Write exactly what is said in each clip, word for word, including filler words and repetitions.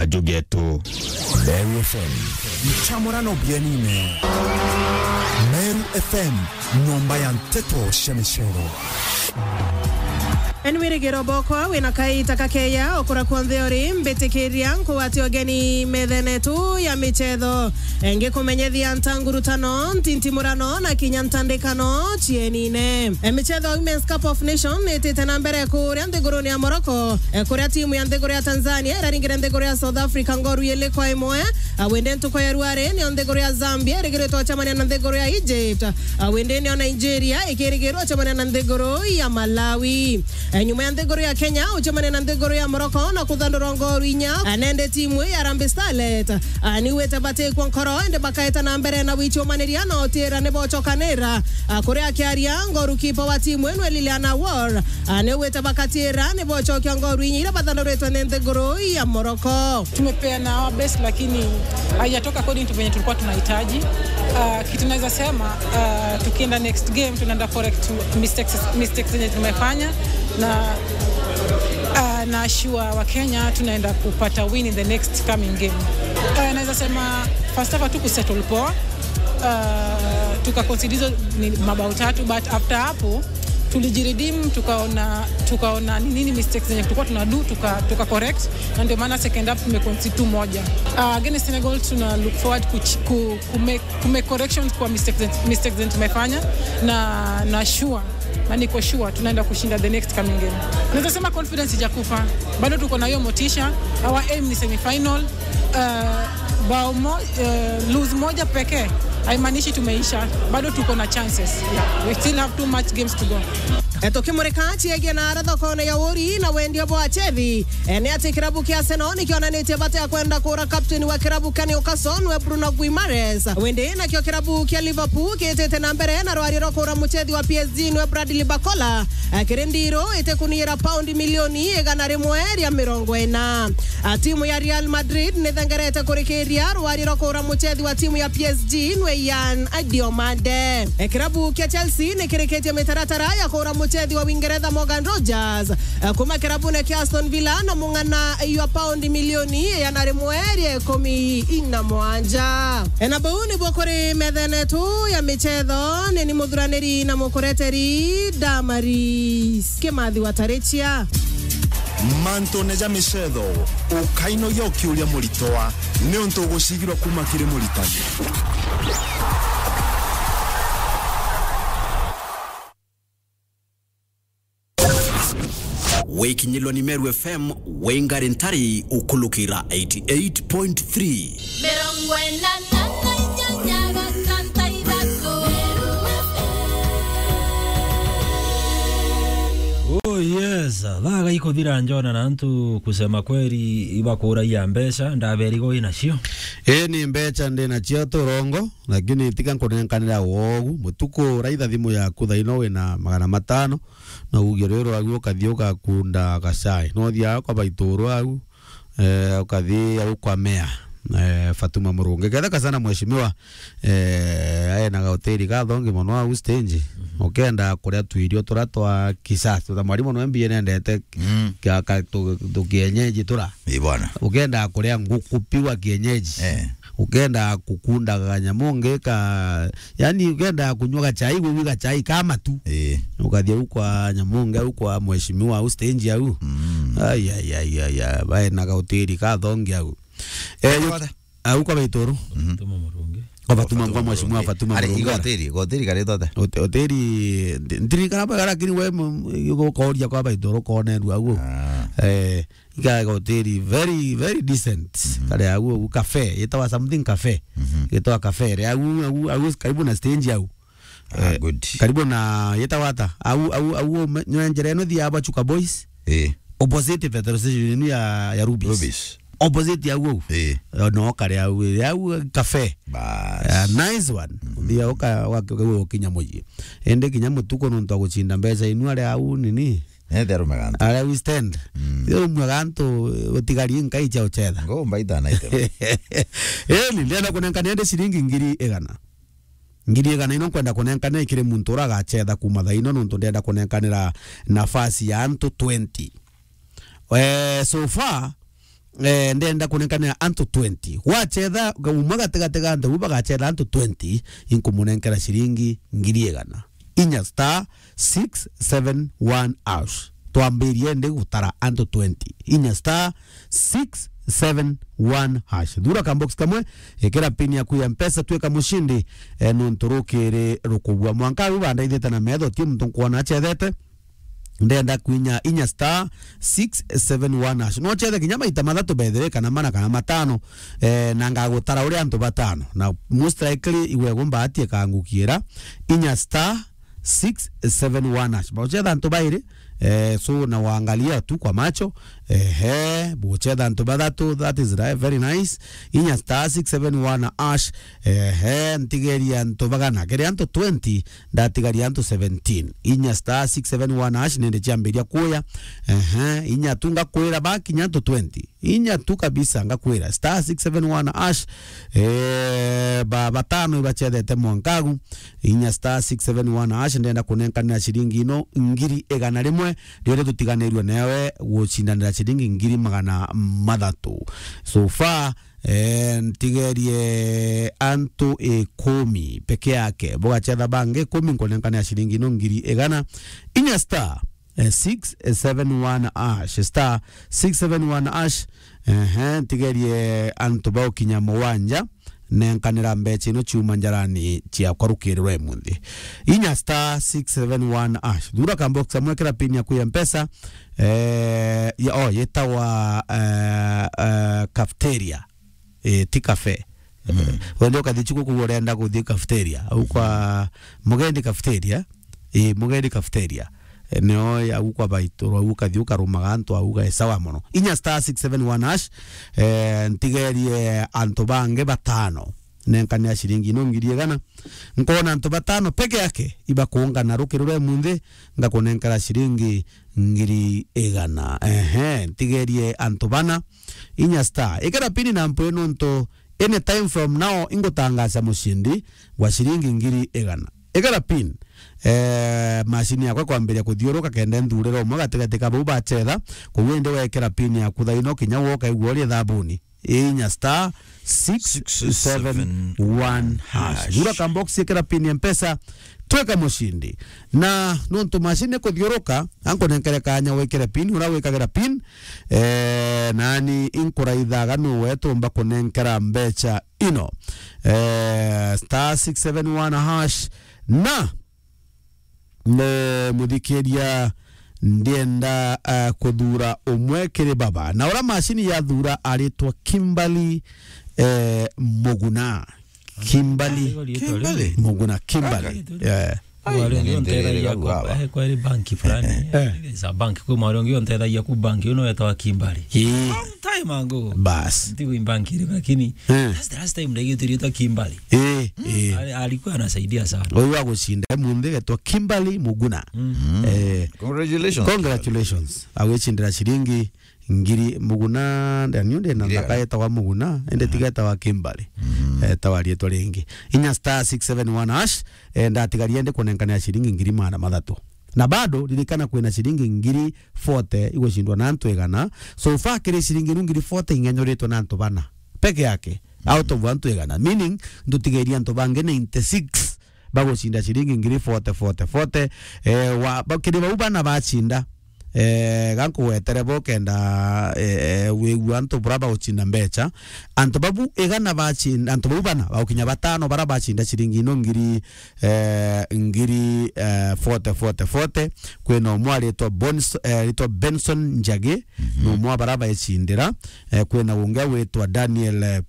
Ajugetu. Meru F M. Nchamurano bienine. Meru F M, nyomba ya nteto cia micero. Enwirigiro bokwa wina kaita kakeya okura kwonthe uri, mbitikiria nkugwate ugeni methene tu ya michetho. Ngikumenyethia ntangurutano, ntintimurano na kinya ntandikano cienine. E, michetho ya Women's Cup of Nation itite na mbere kuria nthiguruni ya Morocco, e, kuria timu ya nthiguru ya Tanzania iraringire nthiguru ya South Africa ngoru ili kwa imwe. A, wende ntuku ya ruari nio nthiguru ya Zambia irigiritwe gucemania na nthiguru ya Egypt. A, wende nio Nigeria ikirigirwa gucemania na nthiguru ya Malawi. E, nyuma ya nthiguru ya Kenya gucemania na nthiguru ya Morocco na kuthandurwa ngoru inya, a, nende timu ya Harambee Starlet, a, niwite batikwa nkoro, indi bakaeta na mbere na gwicumaniria na utira ni bocokanira. A, kuria akiaria, goalkeeper wa timu ino Liliana Wall, a, niwite bakatira ni bocokia ngoru inya iria bathanduritwe ni nthiguru ya Morocco. Tumepeana our best, lakini haijatoka according to venye tulikuwa tunahitaji. Ah, kitu naweza sema, ah, tukienda next game, tunaenda correct mistakes, mistakes zenye tumefanya, na, ah, na assure wa Kenya tunaenda kupata win in the next coming game. Ah, naweza sema first half hatuku settle poa. Ah, tuka concede hizo ni mabao tatu, but after hapo tulijiredeem, tukaona, tukaona ni nini mistakes zenye tulikuwa tuna do, tuka, tuka correct, na ndio maana second half tumeconcede tu moja. Ah, against Senegal tuna look forward ku, ku, ku make, ku make corrections kwa mistakes, mistakes zenye tumefanya, na, na sure, na niko sure tunaenda kushinda the next coming game. Naweza sema confidence ijakufa, bado tuko na hiyo motisha. Our aim ni semifinal. Uh, bao mo, uh, lose moja pekee haimaanishi tumeisha, bado tuko na chances. Yeah. We still have two match games to go. E, tukimurika ciegie na ara thokone ya uri na wendia bwa chethi, e, ni ati kirabu kia Arsenal nikionanitie bata ya kwenda kura captain wa kirabu kia Newcastle nwe Bruno Guimaraes. Wende nakio kirabu kia Liverpool kiitite na mbere na rwari rwa kura muchethi wa P S G nwe Bradley Barcola, e, kiri ndiru itikuniira paundi milioni igana rimwe ria mirongo ina. A, timu ya Real Madrid nithengerete kurikiria rwari rwa kura muchethi wa timu ya P S G nwe Yan Diomande. E, kirabu kia Chelsea nikirikitie mitaratara ya kura muchethi wa Uingeretha Morgan Rogers, e, kuma kirabune kia Aston Villa na mung'ana ya paundi milioni igana rimwe ria ikumi na mwanja. E, na bau nibuo kuri methene tu ya michetho, ni ni muthuraniri na mukureteri Damaris Kimathi wa Tarichia. Mantune ja michetho, ukainogia ukiuria muritwa, niuntu ugucigirwa kuma kiri muritani. Wikinyilwa ni Meru F M, wingari ntari ukulukira eighty eight point three. Mirongo ina na inyanya gatanta ithatu. Oh yes, thaa gaikuthira njona na antu kusema kweli ibakuragia mbeca, ndaberigo inacio. Ii ni mbeca ndi nacio turongo, lakini tiga nkunenkanira wogu. Mutuku uraitha thimu yaku thaino wina magana matano, na ugie rwiro agu ukathi ugakunda gacai. No thiaga kwa baituru agu, eh, ukathi au kwa mea, eh, Fatuma Murungi. Ketheka sana mheshimiwa, eh, ae na gahoteli gathongi mono au stage. Mhm. Ukenda kuria tuirio turia twa kisasa, ta mwarimu no M B A nendete. Mm. Kia ka tu, tu kienyeji tura. Ii bwana. Ukenda kuria nguku piwa kienyeji. Eh. Ukenda kukunda kanyamu ngi ka, yani ukenda kunywa gachai, gwi gachai ka matu. Ii. Ukathia au kwa nyamu ngi, au kwa mheshimiwa, au stage au. Mm. Ai, ai, ai, ai, ai, bae na gahoteli kathongi au. Eh, yu-, au kwa baituru. Mhm. Fatuma Murungi. Kwa Fatuma, Fatuma kwa mheshimiwa Murungi. Fatuma Ari, Murungi. Igo hoteli, igo hoteli karitwa ata? Hote-, hoteli, ndi-, ndirikana bwega, lakini we, m-, ukoria kwa baituru konerua au. Ah. Eh, Iga hoteli very, very decent. Mhm. Kare au, au cafe, yetawa something cafe. Mhm. Yetawa cafe. Re au, au, au karibu na stage au. Ah, eh, good. Karibu na yetawa ata? Au, au, au, me-, nyo njira ino thia aba Chuka Boys. Eh. Opposite petrol station ino ya, ya Rubis. Rubis. Opposite au, au. Eh. Eh, no kare au, au cafe. Bas. Ah, nice one. Mhm. Thia uka, wa, wa, ukinya muji. Ende kinya mutuko nontu wa guchinda mbeca inu are au nini? Nete arume gantu. Are we stand. Mm. Yo rumwe gantu, utigari nkai cia uchetha. Ngo mbaita na ite. Eh, ni ndenda kunenkania ndi ciringi ngiri igana. Ngiri igana ino nkwenda kunenkania kiri muntu ura agachetha kuma thaa ino, nontu ndenda kunenkanira nafasi ya antu twenty. Eh, so far, eh, ndenda kunenkanira antu twenty. Gwachetha umwe gatigati ga antu bau bagachetha antu twenty, inkumunenkera ciringi ngiri igana. Inya star six seven one hash. Twambirie ndi gutara antu twenty. Inya star six seven one hash. Thura ka box kamwe, ikira pin yaku ya Mpesa, twika mushindi, eh, nontu rukiri rukubua. Mwanka uyu bandaithite na metho, ti muntu nkwona achethete. Ndenda kwinya inya star six seven one hash. No chethe kinya maita mathatu bethire kana mana kana matano, eh, na ngagutara uri antu batano. Na most likely igwe gumbaati ikangukira inya star six seven one hash. Bauchetha antu bairi, eh, so na waangalia tu kwa macho, ehe, buchetha antu bathatu, that is right, very nice. Inya star six seven one hash, ehe, ntigeria antu bagana, kiri antu twenty, ndatigaria antu seventeen. Inya star six seven one hash, nende ciambiria kuya, ehe, inya tu ngakwira bakinya antu twenty. Inya tu kabisa ngakwira. Star six seven one hash, eh, ba-, batano ibachethete mwankagu. Inya star six seven one hash, ndenda kunenkanira ciringi ino ngiri igana rimwe, riria tutiganirue newe gucindanira ciringi ngiri magana mathatu. So far, eh, ntigerie antu ikumi peke yake. Bugachetha bangi ikumi, nkunenkanira ciringi ino ngiri igana. Inya star eh, six seven one hash, star six seven one hash. Ehe, ntigerie antu baukinya mugwanja, nenkanira mbecha ino ciuma njarani ciakwa rukiri rwa imunthi. Inya star six seven one hash. Thura ka box kamwe, kira pin yaku ya Mpesa, eh, ya, oh, yetawa, eh, eh, cafeteria. Eh, ti cafe. Mm. Wende ukathi chuku kugu urenda kuthi cafeteria. Au kwa Mugendi cafeteria. Eh, Mugendi cafeteria. Eh, nio ya au kwa baitu, au ukathi ukarumaga antu au ga sawa mono. Inya star six seven one hash, eh, ntigerie antu bangi batano. Nenkanira ciringi ino ngiri igana. Nkona antu batano peke yake ibakuungana rukiri rwa imunthi, ngakunenkera ciringi ngiri igana. Ehe, ntigerie antu bana. Inya star. Ikira pin na mpwi nontu anytime from now ingutangaza mushindi wa ciringi ngiri igana. Ikira pin, eh, mashini yakwa kwambiria kuthiuruka kenda nthurira umwe gatigati ka bau bachetha, koguo indi wekira pin yaku thaino kinya woka igua uri thabuni. Inya star six seven one hash. Thura ka box, ikira pin ya Mpesa, tweka mushindi. Na nontu mashini kuthiuruka, ankunenkere kanya wikire pin, ura wikagira pin, eh, nani inkuraithaga nu wetumba kunenkera mbecha ino. Eh, star six seven one hash, na ne muthikiria ndienda, eh, kuthura umwe kiri baba. Na ura mashini yathura aritwa Kimberly, eh, Muguna. Kimberly Kimberly? Muguna, Kimberly. Ai, yeah. Ai, Wari na ungi ni untethagia ndererera kwa, baba. Eh, kwa iri banki fulani. Eh. There is a bank, kwi mwari ungi untethagia ku banki, uyu niwe wetagwa Kimberly. Ii. Long time ago. Bas. Ntigo i banki iriku, lakini Eh. that's the last time ndaigwitirie ta Kimberly. Ii, ii. Ali-, alikuwa anasaidia sana. Uyu wa gucinda munthi getwa Kimberly Muguna. Mm. Eh. Congratulations. Congratulations. Agwicindira ciringi ngiri Muguna, ndani undi na Ngiri ndaka igana. Etagwa Muguna, ende tiga etagwa Kimberly. Mm. Etagwa rietwa ringi. Inya star six seven one hash, eh, ndatigaria ndi kunenkanira ciringi ngiri magana mathatu. Na bado, ririkana kwina ciringi ngiri forty igucindwa na antu igana. So far, kiri ciringi inu ngiri forty ing'enyoritwe na antu bana peke yake, out of antu igana. Meaning, ndutigeria antu bangi ninety-six bagucinda ciringi ngiri forty, forty, forty. Eh, wa, ba, kiri bau bana bacinda, eh, gankugwetere bo kenda, eh, eh, wigua antu bura bagucinda mbecha. Antu babu igana bacinda, antu bau bana, bagukinya batano bara bacinda ciringi ino ngiri, eh, ngiri, eh, forty, forty, forty. Kwina umwe aritwa Bons-, eh, aritwa Benson Njagi, mhm, ni umwe wa bara baicindira. Eh, kwina ungi agwitwa Daniel, eh,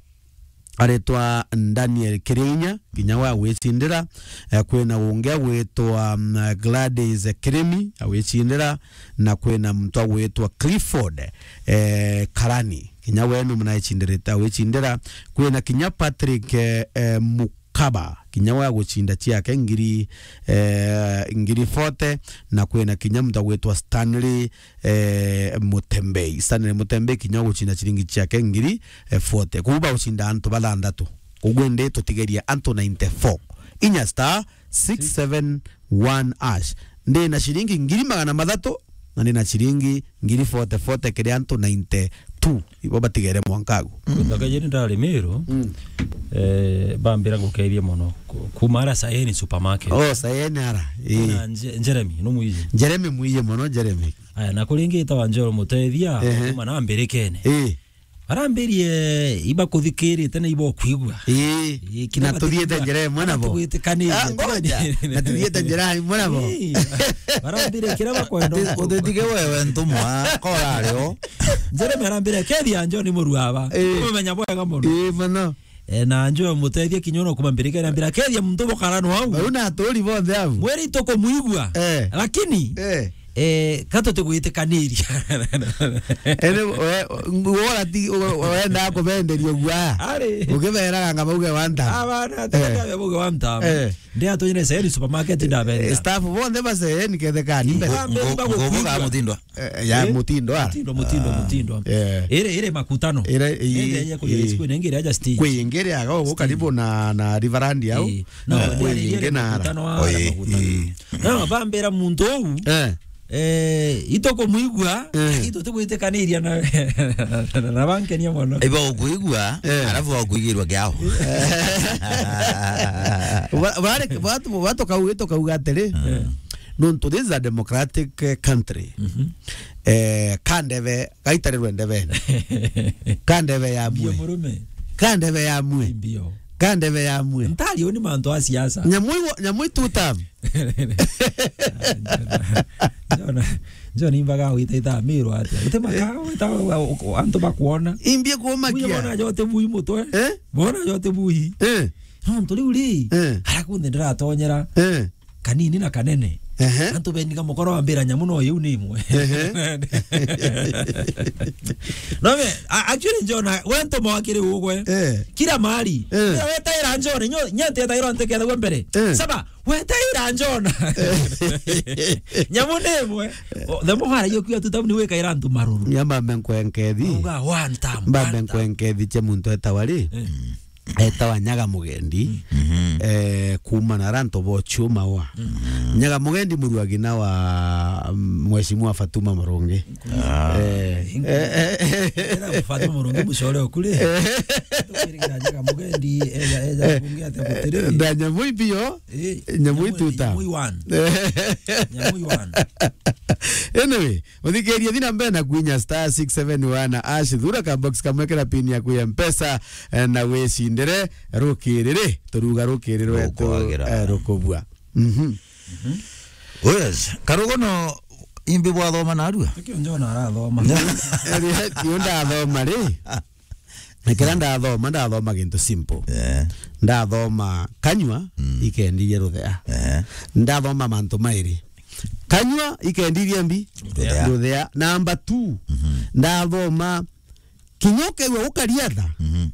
aritwa Daniel Kirinya, kinya we agwicindira. Eh, kwina ungi agwitwa, mm, Gladys Kirimi, agwicindira, na kwina muntu agwitwa Clifford, eh, Karani, kinya we ni muna ecindirite, agwicindira. Kwina kinya Patrick, eh, eh, Mukaba, kinya we agucinda ciake ngiri, eh, ngiri forty, na kwina kinya muntu agwitwa Stanley, eh, Mutembei. Stanley Mutembei kinya agucinda ciringi ciake ngiri, eh, forty. Koguo bagucinda antu bathanthatu. Koguo indi tutigeria antu ninety-four. Inya star six seven one hash. Ndi na ciringi ngiri magana mathatu, na ndi na ciringi ngiri forty forty kiri antu ninety-four. two, ibo batigere mwanka agu. Ndaka jeni ndari Miru, Mm. eh, bambira ngukethia mono. Ku-, kuma ara Sayeni supermarket. Oh, Sayeni ara. Ii. Na Nje-, Jeremy, no mwiye. Jeremy mwiye mono, Jeremy. Aya, na kuringita wa Njoro Mutethia, Ehe. kuma na mbirikene. Ii. Barambirie ibakuthikirite na ibokwigua. Ii. Ii, kira Na tuthiite batikwigua, njira imwe nabo. Tugwitikanirie. Ah, ngoja. Na tuthiite njira imwe nabo. Ii. Barambirie kira bakwenda. Uti-, utitige wewe ntumwa, kora ario. Jeremy arambira, "Kethia Njoro ni murua aba." Ii. Umenya bwega mono. Ii, mono. Eh, na Njoro Mutethia kinya ona kuma mbirikene arambira, "Kethia muntu bukara no au." Bau na aturi bonthe au. Mweri tukumwigua. Eh. Lakini, Eh. Eh, ka tutigwitikaniria. Ene, we, ngwora ti, we, wenda kubenderia guaya. Ari. Ukiberaga anga bauge one time. Abana, Eh. tega bauge one time. Eh. Ndia tunyire Sayeni supermarket ndabethia. Eh, staff bonthe ba Sayeni kethekani. Ngo-, Ndambe ngo-, mba ngobuga gukwigua. Mutindo. Eh, ya Eh? Mutindo ara. Mutindo, Mutindo, Ah, Mutindo. Eh. Ire, ire makutano. Ire, i-, Ende ya kuja i-, siku nengere aja stage. Kwingire aga ugu Stage. Karibu na, na Riverland au. Eh. No, Eh, ndio kwingire na ara. Makutano ara Oi, makutano. Ii. No, bambira muntu uu, Eh. eh, itukumwigua, Eh. itutigwitikaniria na, na bankenia mono. Iba ukwigua, Eh. Arafu wakuigirwa kiao. Ba-, bare-, batu-, batukau-, tukauga atiri, Eh. nontu this is a democratic, eh, country. Mhm. Eh, kandebe, gaitarirwe ndebene. Kandebe ya Mbio mwe. Murume. Kandebe ya mwe. Mbio. Kandebe ya mwe. Ntari uni mantu a siasa. Nyamwi wa-, nyamwi two term. Njona, njona imbaga wita ita Miru atia. Ute maka, wita, antu bakuona. Imbie kumakia. Bona jote bui mutwe. Eh? Bona jote bui. Eh? No, nturi uri. Eh. Ara kunthe ndiratonyera. Eh. Kanini na kanene. Ehe. Antu beniga mukoro wambira nyamu no iu ni imwe. Ehe. No me, a-, actually, Njona, we ntuma wakiri ugwe. Eh. Kila mahali. Eh. Kila wetaira Njona, nyo, nyete etaira ntekethagua mbere. Eh. Saba, wetaira Njona. Eh. Nyamu ni imwe. O, the more haragia kuya tu tabu ni wekaira antu maruru. Nyama menkwenkethi. Uga one time, Mba one time. Menkwenkethi che muntu etawa ri? Eh. Etawa Nyaga Mugendi, Mhm. eh, kuuma na ara antu bo Chuma wa. Mhm. Nyaga Mugendi muruagina wa, mm, Mheshimiwa Fatuma Murungi. Ah. Eh, eh, eh, eh. Era Fatuma Murungi mucore okuri. Tukirigira Nyaga Mugendi, eja, eja, Eh, bunge ate gutiri. Na nyamu ibio, Eh, nyamu nyamu, ituta. Nyamu iwan. Nyamu iwan. Anyway, Muthikiria, thi na mbere na kwinya star six seven one hash, thura ka box kamwe kira pin yaku ya Mpesa, eh, na wicindire rukiri ri, turuga rukiri rwetu, Rukwagira. Eh, rukubua. Mhm. Yes, karugono imbi bwathoma narua? Tikio Njona arathoma. Io ndathoma ri. Ekera ndathoma, ndathoma gintu simple. Eh. Ndathoma kanyua, Mm. ikendirie ruthea. Eh. Ndathoma mantu mairi. Kanyua ikendirie mbi? Ruthea. Ruthea. Number two, Mhm. ndathoma kinya ukeigua gukaria tha. Mhm.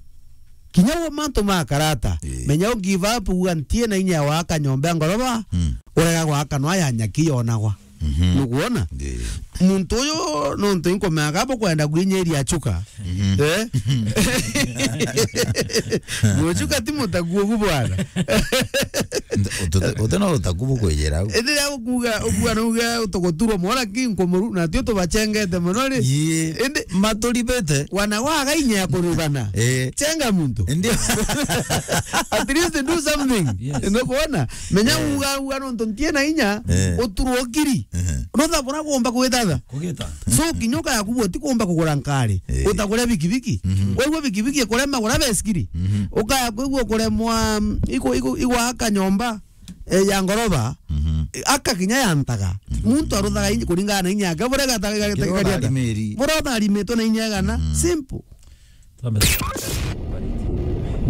Kinya wo mantu ma karata. Eh. Menya u give up, uga ntie na inya ya gwaka nyomba ya ngoroba, Mm. urega gwaka no ya nyaki yonagwa. Mhm. Nukwona? Ndi. Muntu uyu nontu inkomea kabo kwenda gwinyiria chuka. Mhm. Eh? Muchuka ti mutaku ugu bwana. Nda-, utute-, utena utaku bukwijira au. Indi ria ukuga, ukuga nuga utuguturwo mwana ki nkumuru, na tio tubachengete mono ri. Yee. Indi maturibete. Wana waga inya ya kurugana. Eh. Chenga muntu. Ndi. At least do something. Yes. Nukwona? Menya Eh. uga, uga nontu ntie na inya, Eh. uturwo kiri. Ehe. Notha bura kuumba kugita tha. Kugita. So, kinya ukaya kubua, ti kuumba kugura nkari. Eh. Utagure bikibiki. Mhm. Kwigua bikibiki ikurema gura besikiri. Mhm. Ukaya kwigua kuremwa, mm, iku-, iku-, igwaka nyomba, eh, ya ngoroba, Mhm. eh, aka kinya ya ntaga. Mhm. Muntu aruthaga inyi kuringana na inya yake, bura gata-, gata-, Kiro gata-, tharimiri. Bura utharimitwe na inya igana. Mhm. Simple. Twambe-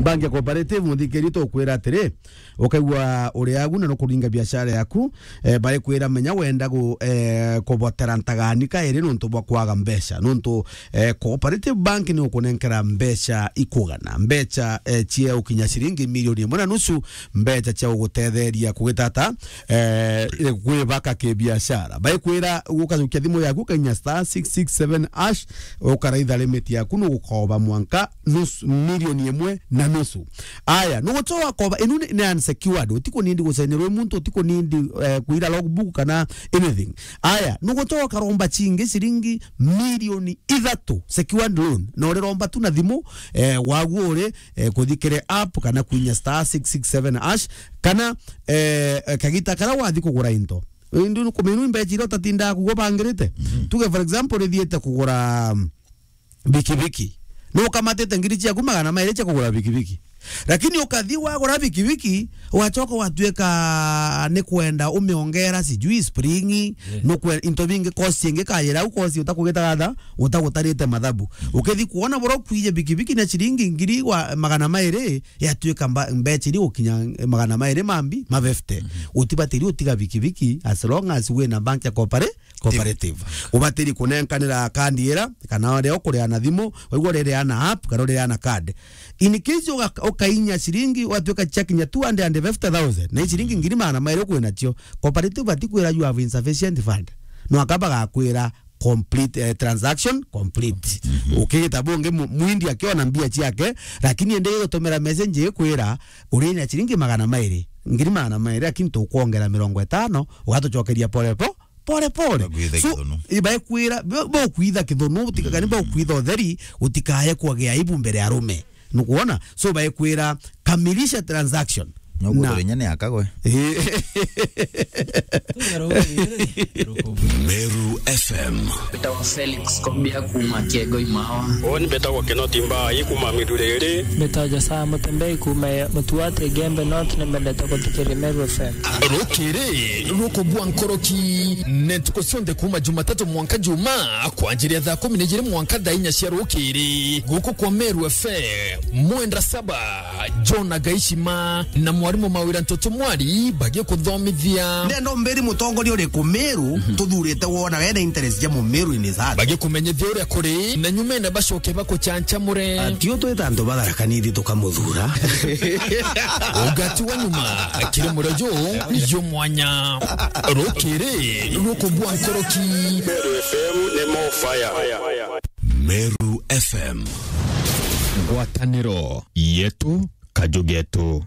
Bank ya Cooperative, muthikiri, tukwira atiri, ukaigua uri agu na nukuringa biashara yaku, eh, bari kwira menya wenda gu-, eh, kubotera ntagani kairi nontu bwa kwaga mbeca. Nontu, eh, Cooperative Bank ni ukunenkera mbeca ikugana. Mbeca, eh, cia ukinya ciringi milioni imwe na nusu, mbeca cia ugutetheria kugitata, eh, gwibaka kibiashara. Baikwira gukajukia thimu yaku, ukainya star six six seven hash, ukaraitha limit yaku, nugukoba mwanka nus-, milioni imwe na nusu. Aya, nugucoa koba, inu ni, ni unsecured. Utiko nindi gucenirwe muntu, utiko nindi, eh, kuira logbook kana anything. Aya, nugucoa karomba cingi ciringi milioni ithatu secured loan. Na uriromba tu na thimu, eh, waguo uri, eh, kuthikire app kana kuinya star six six seven hash, kana, eh, eh, kagita karia wathi kugura into. Indi nukumenya imbeca iria utatindaga kugwa bangirite. Mhm. Tuge for example, rithiite kugura, mm, bikibiki. Nukamatite ngiri ciaku magana mairi cia kugura bikibiki. Lakini ukathi wagura bikibiki, wacoka watuika ni kwenda umiongera sijui spring, yeah, nukwe-, into bingi, cost ingi kayira au cost utakugita gatha, utagutarite mathabu. Mhm. Ukithi kuona bura kwije bikibiki na ciringi ngiri wa magana mairi, yatuika mba-, mbeca iria gukinya magana mairi mambi, ma fifty. Mhm. Utibatiri utiga bikibiki as long as wina bank ya coopera-, cooperative. Ubatiri kunenkanira kandi ira, kana uria ukuria na thimu, waigua uria iria na app, kana uria iria na card. In case uga-, ukainya ciringi, watuika ciakinya two hundred and fifty thousand, na ciringi ngiri magana mairi ukwina cio, cooperative batikwira you have insufficient fund. No akaba gakwira complete, eh, transaction complete. Mhm. Ukigita bungi mu-, mwindi akiona mbia ciake, lakini ende gutumira message ikwira, urinya ciringi magana mairi, ngiri magana mairi, lakini tukwongera mirongo itano, ugatucokeria pole po-, pole pole. Bakwitha. So, kithunu. Ibaekwira, bo-, bokwitha kithunu, utikagani, mm, bokwitha utheri, utikaye kuagia aibu mbere ya arume. Nukuona? So, baekwira, kamilisha transaction. Nukuthurinya ni akagwe. Eh. Meru F M. Mbetawa Felix Kombia kuma Kiego Imawa. Uni mbetagwa Kinoti Mbai kuma Miruriri. Mbetawa Josaya Mutembei kuma Mutuate Gembe North, ni mbendete kuthikiria Meru F M. Rukiri rukubua nkoroki, ni ntuku cionthe kuma Jumatatu mwanka Juma, kwanjiria thaa kumi na ijiri mwanka thaa inya cia rukiri, guku kwa Meru F M, mwenda saba. John Agaishima na mwarimu Mawira Ntoto Mwari bagikuthomithia. Ndenda umbiri mutongoria uriku Meru, mhm, tuthurite wona wena interest ja Mumeru in his heart. Bagikumenyithia uria kuri, na nyumene bacoke bakuchanchamure. Ati utwita antu batharakanithi tukamuthura. Ugati wa nyuma, kiri murojo, yo mwanya. Rukiri rukubua nkoroki. Meru F M ni more fire. Meru F M. Ngwataniro yetu, kaju getu.